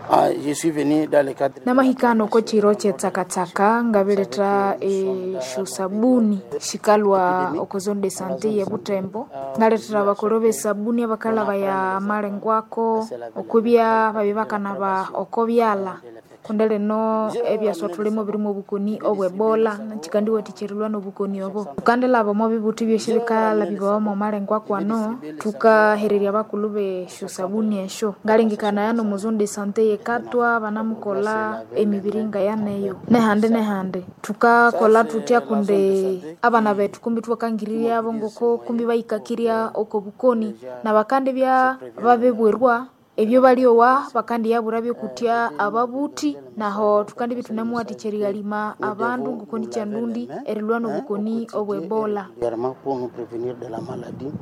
Ah, je suis venu dans le cadre
Namahikano ko chiro chetsakatsaka ngabiletha exo sabuni xikalwa oko zone de santé ye Butembo, ngalethera bakolo besabuni abakalaba ya malengwako okwibya babi bakanaba oko byala kundi lino ebyaswa thulimo birimu obukoni obwebola chikandiwathikyerilwa nobukoni obo. Tukandilaba omo bibuthi byosi bikalabibawa omo malengwa kwano tukahererya bakulhu besyo sabuni esyo ngalengekanaya nomu zone de santé yekatwa banamukola emibiri ngayaneyo nehandi nehandi tukakola tutya kundi abana bethu kumbi thwakangirirya ngoko kumbi bahikakirya oko bukoni nabakandi bya babibwirwa ebyo balyowa bakandiyabura byokutya ababuthi naho tukandibya thunamuwathikya erighalima abandu ngoko nikyandundi erilwa nobukoni obwebola.
Également pour nous prévenir de la maladie.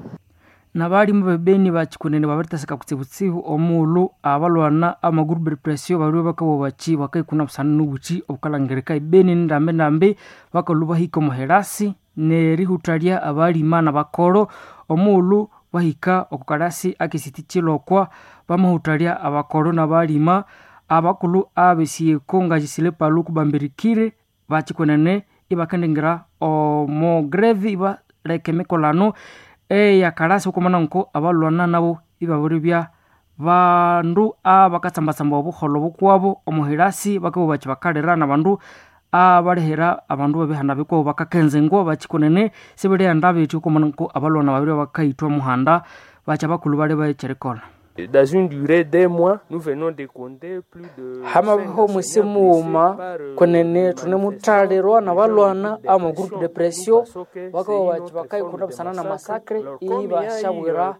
Nabalimu bebeni bachikunene babiritasika kutsibutsibu omuulu abalwana amagroup depression baliwe bakawa bachi bakaikuna busana nobuchi obukalangirika ebeni ndambi ndambi bakalhu bahika omuherasi nerihuthalya abalima nabakoro omuulu bahika okukalasi akisiti chilokwa bamahuthalya abakoro nabalima abakulhu abesiyeko nga Palu kubambirikire bachikunene ibakendingira omo greve ibaleka emikolano eyakalasi okumana nko abalwana nabo ibabiribya bandu abakatsambatsamba obuholho bukwabo omuhirasi bakabugha bachi bakalira nabandu abalihira abandu babihanda bikwabo bakakenzengwa bachikunene sibirighenda bethi okumana nko abalwana babiri bakayithwa muhanda bachi abakulhu bali bakyerikolha.
Dans une durée d'un mois, nous venons de compter plus de
hamabiho mwisi mughuma kwenene thunemuthalirwa nabalwana ama groupe de pression bakaba baki bakayikunda busana na masakre ibashabwira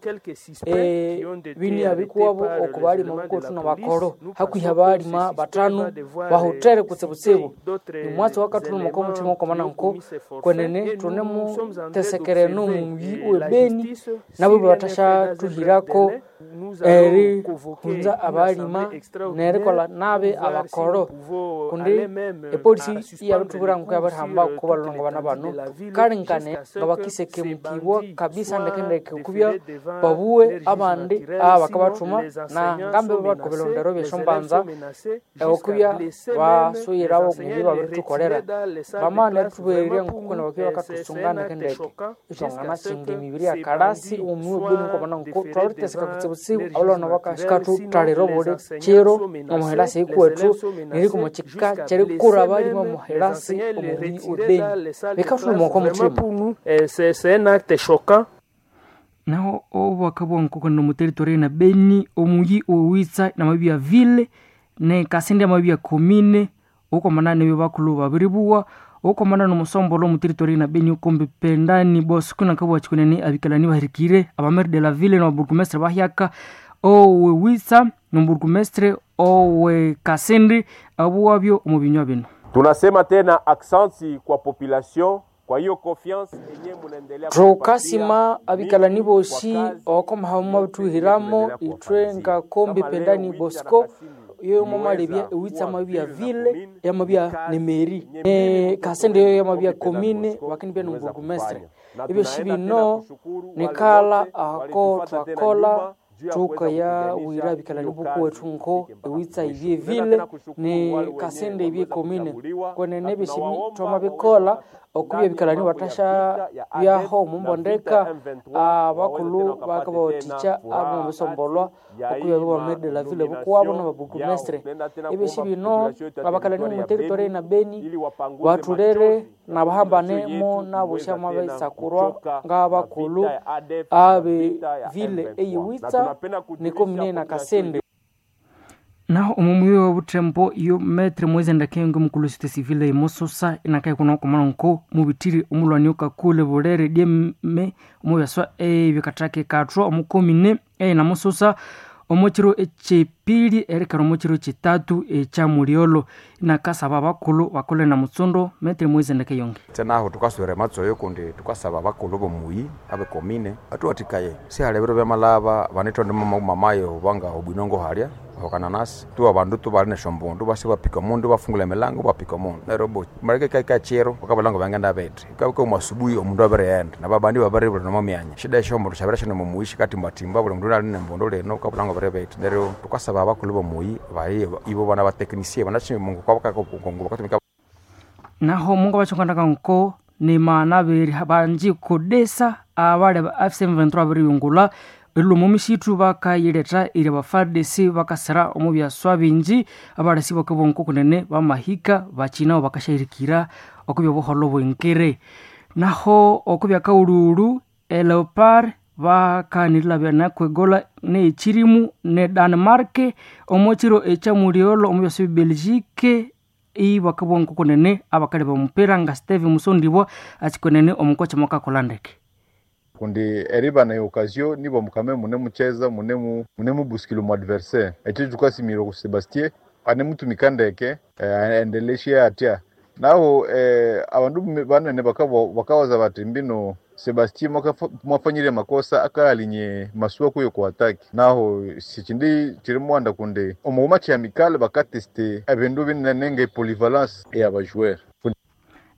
eh, binia bikuwabo okubalima bukotu nabakoro hakuhi abalima batano bahutere kutsibutsibu nimwatsi wakathuluma kwa muthima okomana nko kwenene thunemutesekereno omuyi owebeni nabo batashathuhirako eri hunza abalima nerikolha nabi abakoro kundi epolisi iyabithubwira nko yabirihamba kubalolonga bana bano kalengane nga bakisekemukibwa kabisa ndekendeke okubya babuwe abandi abakabathuma na ngambe babakobilondero byeshombanza okubya basuyirabo mubyo babiritukolera bamana eritubwererya nkukuna bakibya bakathusunga ndekendeke ithwangana kinga emibiri ya kalasi omuyi webeni nkobana nko twabiritheseka kutsibutsibu abalwana bakashikathutalira obuli kiro omuhilasi ikuwethu neriko mukika kyerikura abalima omuhilasi omuyi webeni bikathuluma okwa muthima
C'est un acte choquant.
Naho obwaka bwankoko nomu territory na Beni omuyi owitsa namabya ville ne Kasindi amabya commune okomana nebyo bakulu babiribuwa okomana nomusombolo omu territory na Beni okombe pendani bosco nakabwa chikunene abikalani bahirikire abamere de la ville no burgomestre bahyaka owe witsa no burgomestre owe Kasindi abuwabyo omu binywa bino.
Tunasema tena aksanti kwa population kwa hiyo confiance enye munaendelea
thukasima abikalani bosi okomaha mubabithuhiramo ithwe nga kombi pendani bosco yo mwamalebya ewitsa amabya ville yamabya nemeri e, kasende yo yamabya komine wakinibya nomburgumestre ebyo shibino nikala ako twakola tukaya wira bikalani bukuwethu nko ewitsa ibye ville ne kasende ibye komine kwenene ebyo twamabikola okubya bikalani batasha byaho mumbondeka abakulhu bakabawathikya abamabisombolwa okubya bamere la ville bukuwabo nababurgumestre ebyo bino abakalani mu territory na Beni bathulere nabahambane mo nabosha mabisakurwa ngabakulhu abe ville eyiwitsa nikomine na Kasende.
Naho omumuyi wa butembo yo metre mwezi ndakenge mukulu site civile imososa inakaye kuna okomana nko mubitiri omulwani okakule bulere dyeme omubyaswa ebikatake kathwa omukomine e namusosa omukiro ekyepili erekera omukiro kitatu ekyamulyolo inakasaba abakulhu bakole na mutsundo metre mwezi ndakeyonge.
Tsenaho tukaswera matsoyo kundi tukasaba abakulu bomuyi abekomine atuwatikaye sihali ebiro byamalaba banithonde mamayo banga obwinongo halya okananasi tu abandu tubali nesyombundu basi bapika omundu bafungula emilango bapika omundu neryo bo maleke kaika chiro bakabalanga bangenda bete kabika omwasubuhi omundu abirighenda nababandi babiribula nomo myanya shida esyombundu syabere shino mumuyi katimbatimba buli mundu ali nembundu lino kabulanga biri bete neryo tukasaba abakulhu bomuyi baye ibo bana bateknisiye banashimungu kwabakakongo bakatumika.
Naho mungu abachonganaga nko nimana beri banji kodesa abale ba F C M vingt-trois biriyungula eriluma omisitu bakayiletha iri ba F A R D C bakasira omu byaswa bingi abalasi bakabonko kunene bamahika bakinaho bakashahirikira okubya obuholo bwenkere. Naho okubya kaululu eleopard bakanirira byanakwegola nekyirimu ne Denmark omukiro ekyamulyolo omu byaswa bya Belgique ibakabonko kunene abakali bamupira nga Steve Musondibwa akikunene omukocha mwakakola ndeke
kundi eriba na occasion nibo mukame mune mucheza mune mu mune mubusikilo mu adversaire ekyo tukasimira ku Sebastien ane mutumika ndeke eh, aendeleshe atya naho eh, abandu banene bakawaza bati mbino Sebastien mwafanyire makosa akalinye masuwa kuyo ku ataki naho sichindi chiri mwanda kundi omuuma chiamikale bakateste ebindu binene nga polyvalence ey'abajoueur.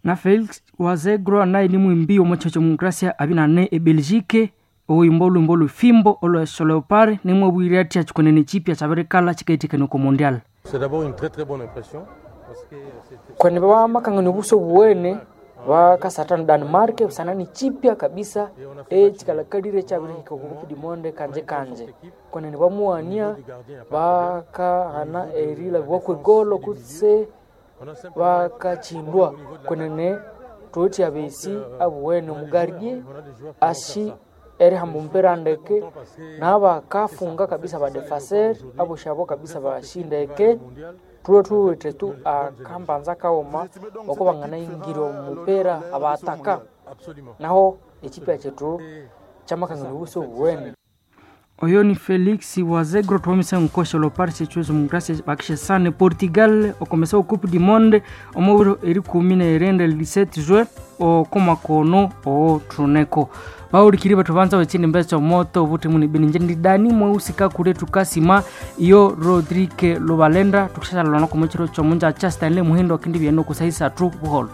Na Felix Wazegro naye ni mwimbi omu kyo demokrasia abinane e Belgique oyimba olwimbo olufimbo olwa Leopard nimwe bwire ati akikonene chipya kyabirikala chikaitikana ku mondial.
C'est d'abord une très très bonne impression.
Kwene bamakangana obuso buwene bakasatana Denmark busanani chipya kabisa ekikalakalire kyabirihika oku Coupe du Monde kanje kanje kwenene bamuwania bakahana erilabibwa kwegolo kutse bakachindwa kwenene tuti abesi abuwene omugardie ashi Erihamba omupira ndeke nabakafunga kabisa badefaseri abosi abo kabisa bashindeke tuwe tuwithe tu akambanza kaghuma oko banganaingira omupira abataka naho ekipya kyethu kyamakangana obuso obuwene.
Oyo ni Felix Wazegro twamisa nkosha Leopard sechuzo mugrasi bakishesane Portugal okomesa o Coupe du Monde omubiro erikumi nerenda dix-sept juin okomakono othuneko bawulikiri bathu banza bachini mbeso moto obuthi muni bini nje ndi Dani Mweusi kakule tukasima iyo Rodrigue Lubalenda tukushashalana komuchiro chomunja cha Stanley Muhindo akindi byeno kusahisa tu buholo.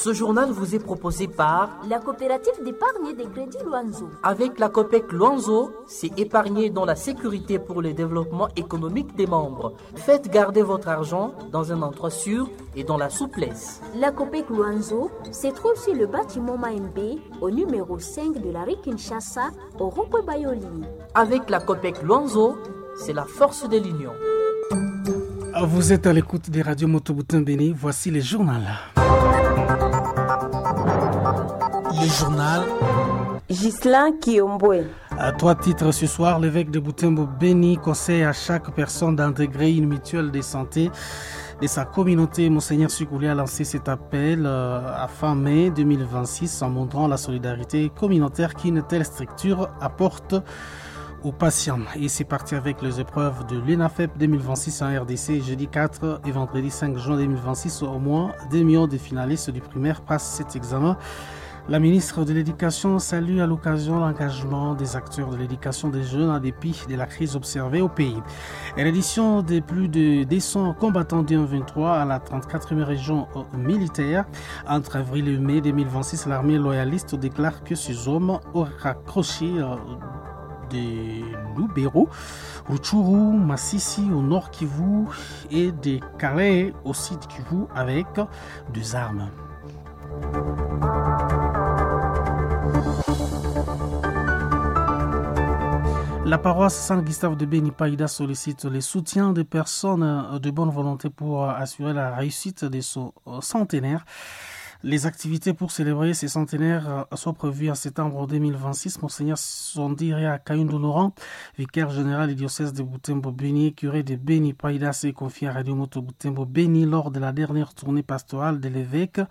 Ce journal vous est proposé par
la coopérative d'épargne et de crédit Luanzo.
Avec la COPEC Luanzo, c'est épargner dans la sécurité pour le développement économique des membres. Faites garder votre argent dans un endroit sûr et dans la souplesse.
La COPEC Luanzo se trouve sur le bâtiment Maembe, au numéro cinq de la rue Kinshasa, au rond-point Bayoli.
Avec la COPEC Luanzo, c'est la force de l'union.
Vous êtes à l'écoute des radios Moto Béni. Voici les journaux. Le journal
Ghislain Kiombwe.
À trois titres ce soir, l'évêque de Butembo Béni conseille à chaque personne d'intégrer une mutuelle de santé de sa communauté. Monseigneur Sukouli a lancé cet appel à fin mai deux mille vingt-six en montrant la solidarité communautaire qu'une telle structure apporte aux patients. Et c'est parti avec les épreuves de l'UNAFEP deux mille vingt-six en R D C, jeudi quatre et vendredi cinq juin deux mille vingt-six. Au moins deux millions de finalistes du primaire passent cet examen. La ministre de l'Éducation salue à l'occasion l'engagement des acteurs de l'éducation des jeunes en dépit de la crise observée au pays. Et l'édition des plus de deux cents combattants du M vingt-trois à la trente-quatrième région militaire. Entre avril et mai deux mille vingt-six, l'armée loyaliste déclare que ces hommes auraient raccroché de Lubero, Rutshuru, Masisi au nord Kivu et de Calais au sud Kivu avec deux armes. La paroisse Saint-Gustave de Béni Païda sollicite le soutien des personnes de bonne volonté pour assurer la réussite de son centenaire. Les activités pour célébrer ces centenaires sont prévues en septembre deux mille vingt-six. Monseigneur Sondiria Kayundo Laurent, vicaire général du diocèse de Butembo Béni, curé de Béni Païda, s'est confié à Radio Moto Butembo Béni lors de la dernière tournée pastorale de l'évêque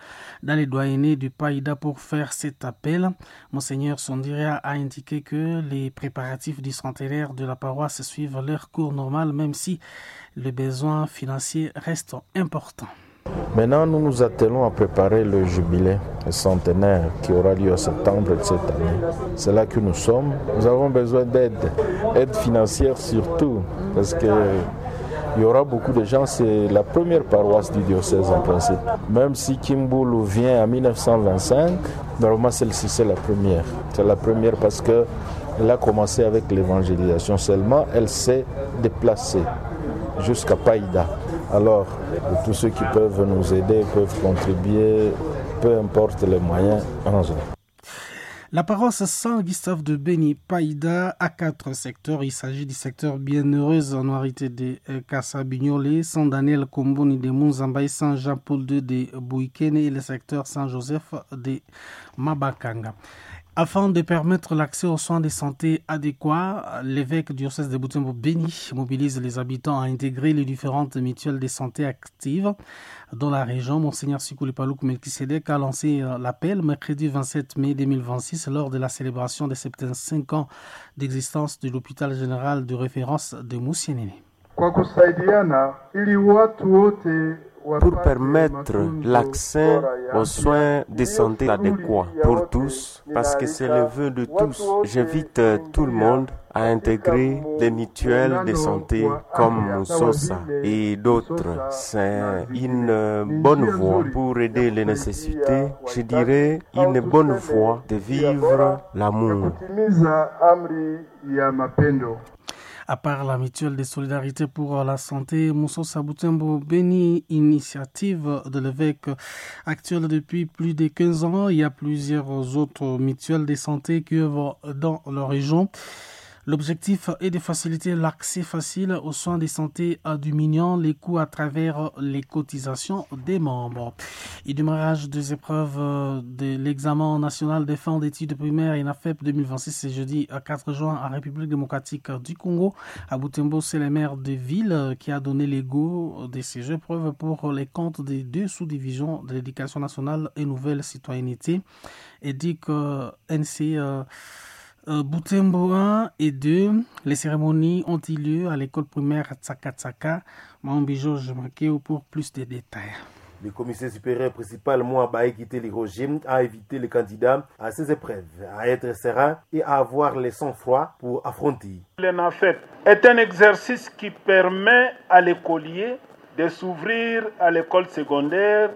dans les doyennés du Païda pour faire cet appel. Monseigneur Sondiria a indiqué que les préparatifs du centenaire de la paroisse suivent leur cours normal, même si le besoin financier reste important.
Maintenant, nous nous attelons à préparer le jubilé centenaire qui aura lieu en septembre de cette année. C'est là que nous sommes. Nous avons besoin d'aide, aide financière surtout, parce que il y aura beaucoup de gens. C'est la première paroisse du diocèse en principe. Même si Kimbulu vient en mille neuf cent vingt-cinq, normalement celle-ci c'est la première. C'est la première parce que elle a commencé avec l'évangélisation seulement, elle s'est déplacée jusqu'à Païda. Alors, tous ceux qui peuvent nous aider, peuvent contribuer, peu importe les moyens, allons-y.
La paroisse Saint-Gustave de Béni Païda a quatre secteurs. Il s'agit du secteur Bienheureuse en Noirité de Kassabignolé, Saint Daniel Komboni de Munzambaye, Saint Jean-Paul deux de Bouikene et le secteur Saint-Joseph de Mabakanga. Afin de permettre l'accès aux soins de santé adéquats, l'évêque du diocèse de Butembo Béni mobilise les habitants à intégrer les différentes mutuelles de santé actives dans la région. Monseigneur Sikuli Paluku Melkisedek a lancé l'appel mercredi vingt-sept mai deux mille vingt-six lors de la célébration des soixante-quinze ans d'existence de l'hôpital général de référence de Musienene.
Kwa kusaidiana ili watu wote
pour permettre l'accès aux soins de santé adéquats pour tous, parce que c'est le vœu de tous. J'invite tout le monde à intégrer des mutuelles de santé comme Musosa et d'autres. C'est une bonne voie pour aider les nécessités, je dirais une bonne voie de vivre l'amour.
À part la mutuelle de solidarité pour la santé, Musosa Butembo Béni, initiative de l'évêque actuel depuis plus de quinze ans. Il y a plusieurs autres mutuelles de santé qui œuvrent dans leur région. L'objectif est de faciliter l'accès facile aux soins de santé en diminuant les coûts à travers les cotisations des membres. Et démarrage des épreuves de l'examen national des fins d'études primaires ENAFEP deux mille vingt-six, c'est jeudi quatre juin en République démocratique du Congo. À Butembo, c'est le maire de ville qui a donné les go de ces épreuves pour les comptes des deux sous-divisions de l'éducation nationale et nouvelle citoyenneté. Et dit que N C euh, euh, Butembo un et deux, les cérémonies ont eu lieu à l'école primaire Tsaka Tsaka. Maombi Georges Makeo pour plus de détails.
Le commissaire supérieur principal Mouabaï Kiteli Roger a invité les candidats à ces épreuves, à être sereins et à avoir le sang-froid pour affronter.
L'ENAFEP est un exercice qui permet à l'écolier de s'ouvrir à l'école secondaire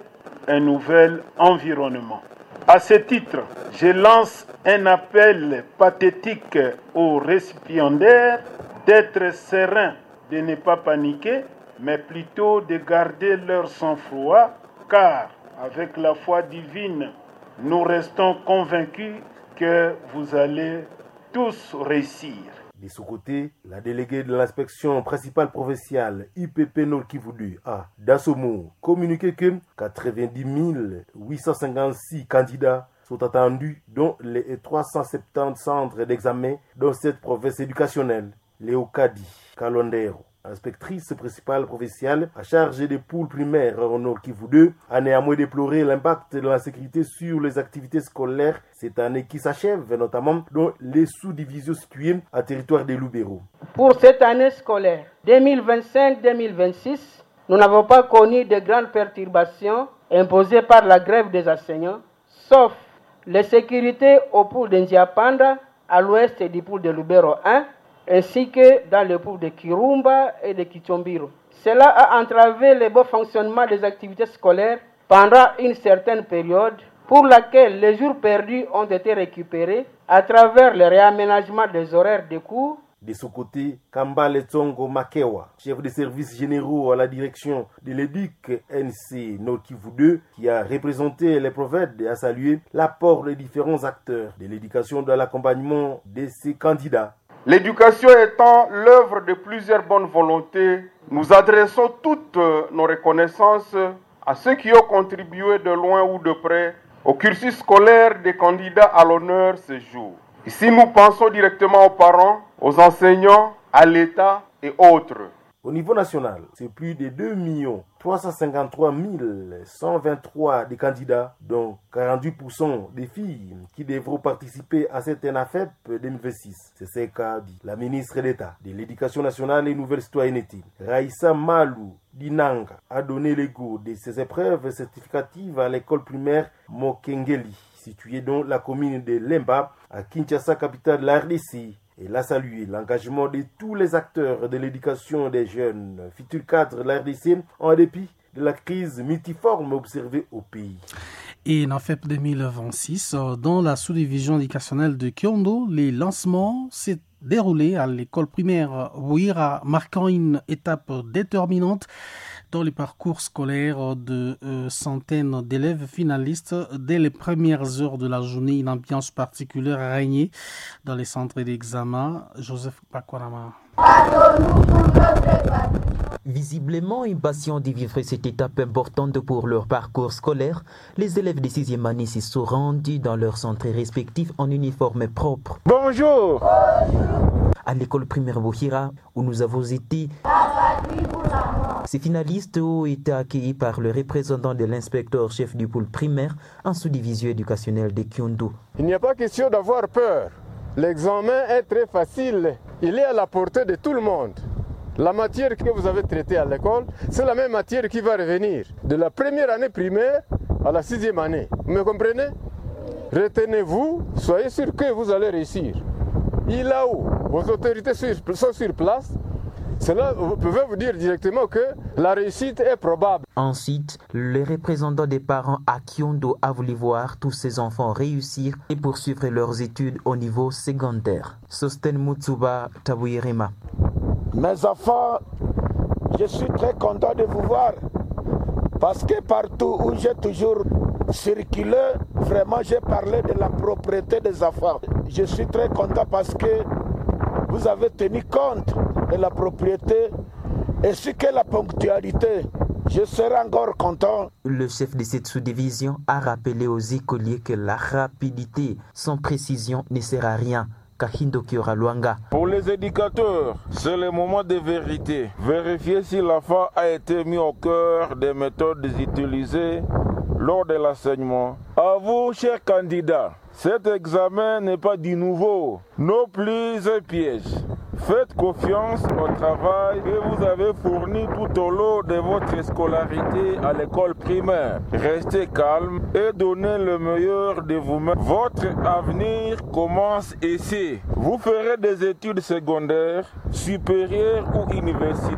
un nouvel environnement. À ce titre, je lance un appel pathétique aux récipiendaires d'être sereins, de ne pas paniquer, mais plutôt de garder leur sang-froid, car avec la foi divine, nous restons convaincus que vous allez tous réussir.
De son côté, la déléguée de l'inspection principale provinciale I P P Nord Kivu deux a, dans ce mot, communiqué que quatre-vingt-dix mille huit cent cinquante-six candidats sont attendus dans les trois cent soixante-dix centres d'examen dans cette province éducationnelle. Léocadie Kalondero, inspectrice principale provinciale à charge des poules primaires au Nord Kivu deux, a néanmoins déploré l'impact de l'insécurité sur les activités scolaires cette année qui s'achève, notamment dans les sous-divisions situées à territoire de Lubero.
Pour cette année scolaire deux mille vingt-cinq deux mille vingt-six, nous n'avons pas connu de grandes perturbations imposées par la grève des enseignants, sauf les sécurités au pool de Nziapanda, à l'ouest du pool de Lubero un, ainsi que dans le pool de Kirumba et de Kitsombiro. Cela a entravé le bon fonctionnement des activités scolaires pendant une certaine période, pour laquelle les jours perdus ont été récupérés à travers le réaménagement des horaires de cours.
De son côté, Kambale Tsongo Makewa, chef de services généraux à la direction de l'E D U C N C Nord Kivu deux, qui a représenté les prophètes, a salué l'apport des différents acteurs de l'éducation dans l'accompagnement de ces candidats.
L'éducation étant l'œuvre de plusieurs bonnes volontés, nous adressons toutes nos reconnaissances à ceux qui ont contribué de loin ou de près au cursus scolaire des candidats à l'honneur ce jour. Ici, nous pensons directement aux parents, aux enseignants, à l'État et autres.
Au niveau national, c'est plus de deux millions trois cent cinquante-trois mille cent vingt-trois des candidats, dont quarante-huit pour cent des filles qui devront participer à cette ENAFEP deux mille vingt-six. C'est ce qu'a dit la ministre d'État de l'Éducation nationale et Nouvelle Citoyenneté, Raïssa Malu Dinanga, a donné le goût de ces épreuves certificatives à l'école primaire Mokengeli, située dans la commune de Lemba, à Kinshasa, capitale de la R D C. Elle a salué l'engagement de tous les acteurs de l'éducation des jeunes, futurs cadres de la R D C, en dépit de la crise multiforme observée au pays.
Et en F E P deux mille vingt-six, dans la sous-division éducationnelle de Kyondo, les lancements s'est déroulé à l'école primaire Bouira, marquant une étape déterminante dans les parcours scolaires de euh, centaines d'élèves finalistes. Dès les premières heures de la journée, une ambiance particulière a régné dans les centres d'examen. Joseph Bakwarama.
Visiblement impatients de vivre cette étape importante pour leur parcours scolaire, les élèves de sixième année s'y sont rendus dans leurs centres respectifs en uniforme propre.
Bonjour.
Bonjour. À l'école primaire Bohira, où nous avons été, ces finalistes ont été accueillis par le représentant de l'inspecteur chef du pôle primaire en sous-division éducationnelle de Kyondo.
Il n'y a pas question d'avoir peur. L'examen est très facile. Il est à la portée de tout le monde. La matière que vous avez traitée à l'école, c'est la même matière qui va revenir de la première année primaire à la sixième année. Vous me comprenez? Retenez-vous, soyez sûr que vous allez réussir. Il là où vos autorités sont sur place, cela, vous pouvez vous dire directement que la réussite est probable.
Ensuite, le représentant des parents à Kyondo a voulu voir tous ses enfants réussir et poursuivre leurs études au niveau secondaire. Sosten Mutsuba Tabouirema.
Mes enfants, je suis très content de vous voir parce que partout où j'ai toujours circulé, vraiment j'ai parlé de la propreté des enfants. Je suis très content parce que Vous avez tenu compte de la propriété ainsi que la ponctualité. Je serai encore content.
Le chef de cette sous-division a rappelé aux écoliers que la rapidité sans précision ne sert à rien. Kahindo Luanga.
Pour les éducateurs, c'est le moment de vérité. Vérifier si l'enfant a été mis au cœur des méthodes utilisées lors de l'enseignement. À vous, chers candidats, cet examen n'est pas du nouveau, non plus un piège. Faites confiance au travail que vous avez fourni tout au long de votre scolarité à l'école primaire. Restez calme et donnez le meilleur de vous-même. Votre avenir commence ici. Vous ferez des études secondaires, supérieures ou universitaires.